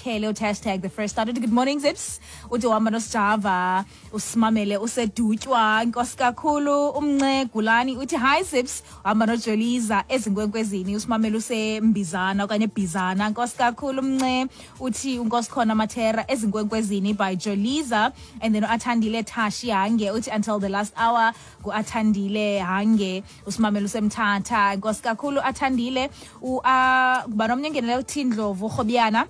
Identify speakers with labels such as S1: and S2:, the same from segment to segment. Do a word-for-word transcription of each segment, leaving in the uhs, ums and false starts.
S1: Lukhele uthi hashtag the first start. Uthi good morning Zips, uthi uhamba noSjava, usimamele usedutywa. Nkosi kakhulu. Umnce Gulani uthi hi Zips, uhamba noJoliza ezinkwenkwezini, usimamele usembizana okanye ebhizana. Nkosi kakhulu Mnce. Uthi unkosi khona Mathera, Ezinkwenkwezini by Joliza. And then Athandile Tashi Hange uthi until the last hour. Ngu-Athandile Hange, usimamele usemthatha. Nkosi kakhulu Athandile. Kuba nomnye ongenele, uthi Ndlovu Rhobiyana,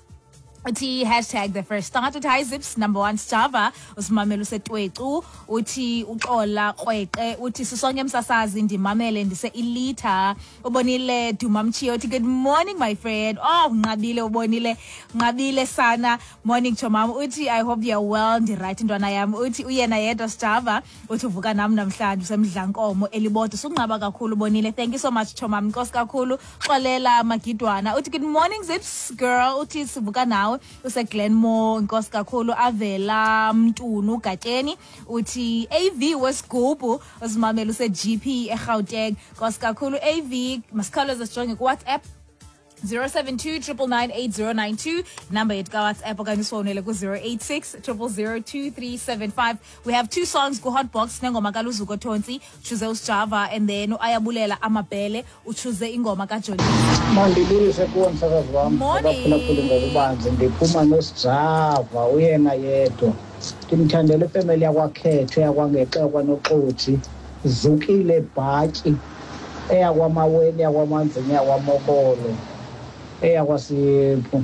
S1: uthi hashtag the first start. Uthi hi Zips, number one Sjava, usimamele usetwecu. Uthi uxola Krweqe, uthi sisonke msasazi, ndimamele ndise ilitha. Ubonile Dumamchiyo uthi good morning my friend. Oh, unqabile ubonile, unqabile sana. Morning chomam, uthi I hope you're well. Ndiright ntwana yam. Uthi uyena yedwa Sjava, uthi uvuka nam namhlanje, usemdlankomo elibodwa. Sunqaba kakhulu ubonile. Thank you so much chomam, nkosi kakhulu. Xolela Magidwana uthi good morning Zips girl, uthi sivuka nawe, useGlenmore. Nkosi kakhulu. Avela Mntunu Gatsheni uthi A V wesigubhu, usimamela use-G P eGauteng. Nkosi kakhulu A V. Masikhawuleze sijonge kuWhatsApp, zero seven two, nine nine nine, eight zero nine two number yethu kaWhatsApp, okanye usifowunele ku-zero eight six zero zero zero two three seven five. We have two songs ku-hotbox, nengoma kaLuzuko Tontsi, uchoose uSjava, and then uAyabulela Amabhele uchoose ingoma kaJolisa.
S2: Mandibulise kuwe msakazi wam.
S1: Morning.
S2: Abaphulaphuli ngokubanzi, ndiphuma noSijava uyena yedwa. Ndimthandela ifemeli yakwaKhetho, yakwangexe, kwanoxothi Zukile Bhatyi, eyakwamaweni, eyakwamanzini, eyakwamokolo, eyakwasiphu,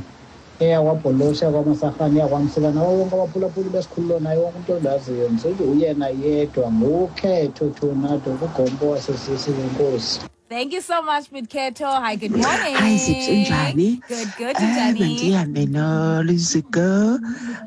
S2: eyakwabholosi, eyakwamasarhane, eyakwamsika, nawo wonke abaphulaphuli besikhululo, naye wonke umntu ondaziyo. Ndisithi uyena yedwa nguKhetho Tornado kugompo wasesisi wenkosi.
S1: Thank you so much, Bidketo. Hi, good morning.
S3: Hi Zips, unjani?
S1: Good, good.
S3: Eh,
S1: Unjani?
S3: Mandihambe noLuzuko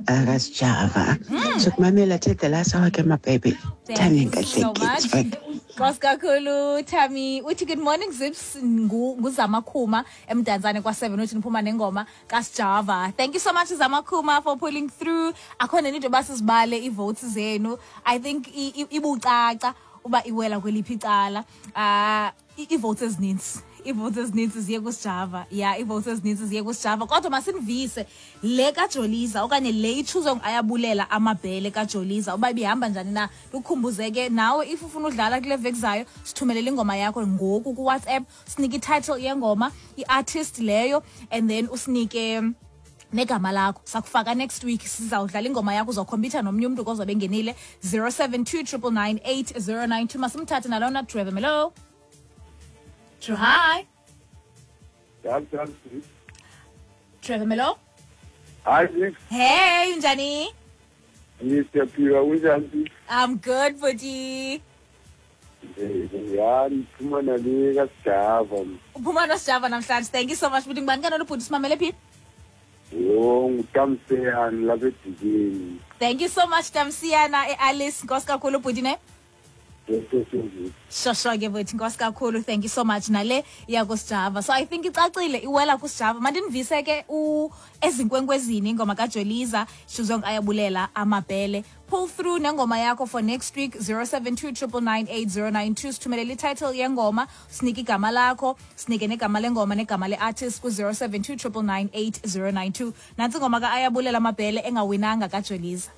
S3: akaSjava. Sokumamela till the last hour ke, my baby.
S1: Thank
S3: Thami
S1: you so much.
S3: Nkahlekile.
S1: Nkosi kakhulu Thami. Uthi good morning Zips, ngu nguZamakhuma eMdantsane kwa seven, uthi niphuma nengoma kaSjava. Thank you so much Zamakhuma for pulling through. Akhona into basizibale ivotes zenu. I think i- i- ibucaca uba iwela kweliphi icala. Ah, i- i-votes ezininzi ii-votes ezininzi ziye kuSjava. Ya, ii-votes ezininzi ziye kuSjava, kodwa masinivise le kaJoliza okanye le ichooswe Ayabulela Amabhele kaJoliza uba ibihamba njani na. Ndikukhumbuze ke nawe, if ufuna udlala kule veki zayo, sithumelele ingoma yakho ngoku kuWhatsApp, sinike ititle yengoma, i-artist leyo, and then usinike negama lakho. Sakufaka next week, sizawudlala ingoma yakho, uzawukhompyutha nomnye umntu kozobe engenile. zero seven two, nine nine nine, eight zero nine two. Masimthathe nalona. Trevor Melo. True, hi.
S4: Njani, njani?
S1: Trevor Melo.
S4: Hayi Zips,
S1: Hey, unjani?
S4: Siyaphila, kunjani?
S1: I'm good, bhuti.
S4: Ya, ndiphuma nale kaSijava.
S1: Uphuma noSijava namhlanje. Thank you so much, bhuti. Ngubani kanona ubhuti, simamele phi?
S4: Yho, nguTamseyani lapha edikeni.
S1: Thank you so much Tamsiyana eAlice. Nkosi kakhulu bhuti ne. Shosho ke bhuti, nkosi kakhulu. Thank you so much. Nale iya kuSijava, so I think icacile iwela kuSijava. Mandinivise ke u Ezinkwenkwezini, ingoma kaJoliza, chooswe Ayabulela Amabhele. Pull through nengoma yakho for next week, zero seven two, nine nine nine, eight zero nine two. Sithumelele ititle yengoma, sinike igama lakho, sinike negama lengoma negama le-artist ku-zero seven two, nine nine nine, eight zero nine two. Nantsi ingoma ka-Ayabulela Amabhele engawinanga, kaJoliza.